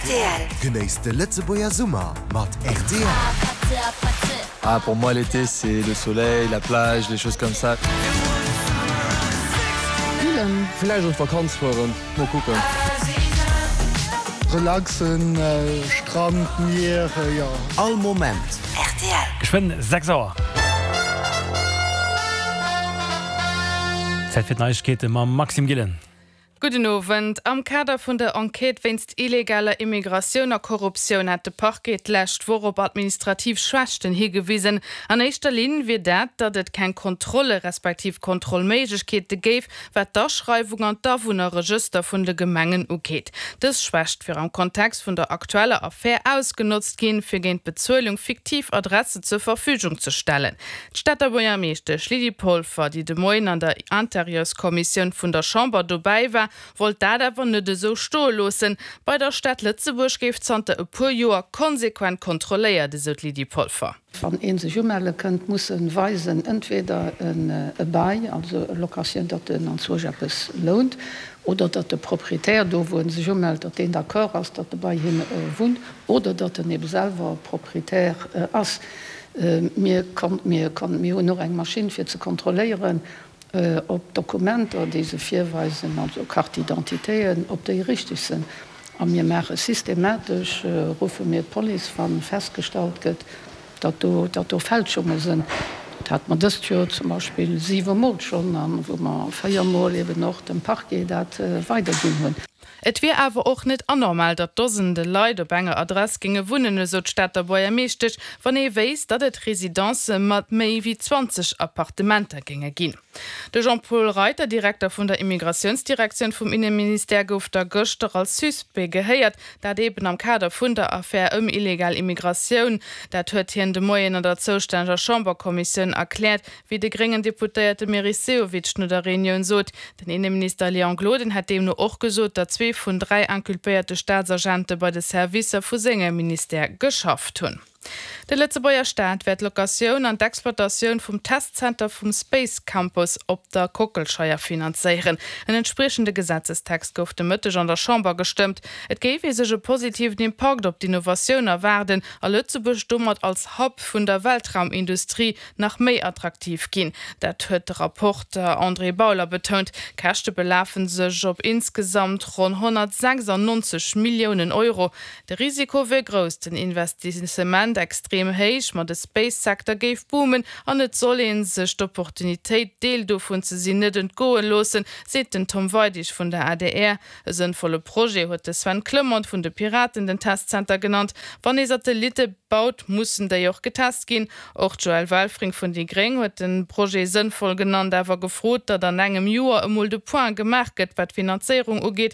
Rtl. Genéisst de Lëtzebuerger Summer mat rtl. Ah pour moi l'été c'est le soleil, la plage, les choses comme ça. Spillen. Villäicht an d'Vakanz fueren, mol kucken. Relaxen, Strand, Mier, jo. All Moment. Rtl. Geschwënn 6 Auer. Zäit fir d'Neiegkeete mam Maxime Gillen. Gudden Owend. Am Kader vun der Enquête wéinst illegaler Immigratioun a Korruptioun hat de Parquet d'lescht Woch op administrativ Schwächten higewisen. An éischter Linn wier dat, datt et keng Kontrolle respektiv Kontrollméiglechkeete géif, wat d'Aschreiwung an d'Awunnerregëster vun de Gemengen ugeet. Dës Schwächt wier am Kontext vun der aktueller Affär ausgenotzt ginn, fir géint Bezuelung fiktiv Adresse zur Verfügung ze stellen. D'Stater Buergermeeschtesch Lydie Polfer, déi de Moien an der Interieurskommissioun vun der Chamber dobäi war, wollt dat awer net esou stoe loossen. Bei der Stad Lëtzebuerg géif zanter e puer Joer konsequent kontrolléiert, esou d'Lydie Polfer. Wann ee sech umelle kënnt, muss e weisen, entweder e Bail, also e Location, datt en anzwousch eppes lount, oder datt de Proprietär do, wou e sech umellt, datt deen d'accord ass, datt e bei him wunnt, oder datt en ebe selwer Proprietär ass. Mir hunn och eng Maschinn fir ze kontrolléieren, ob d'Dokumenter, déi se virweisen, also Carte d'identitéen, ob déi richteg sinn. A mir maache systematesch, ruffe mir d'Police, wa festgestallt gëtt, datt do, datt do Fälschunge sinn. Dat hate mer dëst Joer zum Beispill siwemol schonn, a wou mer véiermol eben och dem Parquet dat weiderginn hunn. Et wier awer och net anormal, datt Dosende Leit op enger Adress géinge wunnen, esou d'Stater Buergermeeschtesch, wann ee wéisst, datt et Residencë mat méi wéi 20 Appartementer géinge ginn. De Jean-Paul Reiter, Direkter vun der Immigratiounsdirektioun vum Inneministère, gouf da gëschter als Suspect gehéiert, dat eben am Kader vun der Affär ëm illegal Immigratioun. Dat huet hien de Moien an der zoustänneger Chamberkommissioun erkläert. Wéi de gréngen Deputéierte Meris Sehovic no der Reunioun sot. Den Inneminister Léon Gloden hätt deemno och gesot, datt zwee vun 3 inculpéierte Staatsagente bei de Servicer vu sengem Ministère geschafft hunn. De Lëtzebuerger Staat wäert d'Locatioun an d'Exploitatioun vum Testzenter vum Space Campus op der Kockelscheier finanzéieren. En entspriechende Gesetzestext gouf de Mëtteg an der Chamber gestëmmt. Et géif ee sech e positiven Impakt op d'Innovatioun erwaarden a Lëtzebuerg domat als Hub vun der Weltraumindustrie nach méi attraktiv ginn. Dat huet de Rapporter André Bauler betount. D'Käschte belafe sech op insgesamt ronn 196 Milliounen Euro. De Risiko wier grouss, den Investissement extrem héich, ma de Space-Secteur géif boomen an et soll ee sech d'Opportunitéit, Deel dovun ze sinn, net entgoe loossen, seet den Tom Weidig vun der adr. E sënnvolle Projet huet de Sven Clement vun de Piraten den Testzenter genannt. Wann ee Satellitte baut, mussen déi och getest ginn. Och d'Joëlle Welfring vun déi Gréng huet de Projet sënnvoll genannt, awer gefrot, datt an engem Joer emol de Point gemaach gëtt, wat d'Finanzéierung ugeet.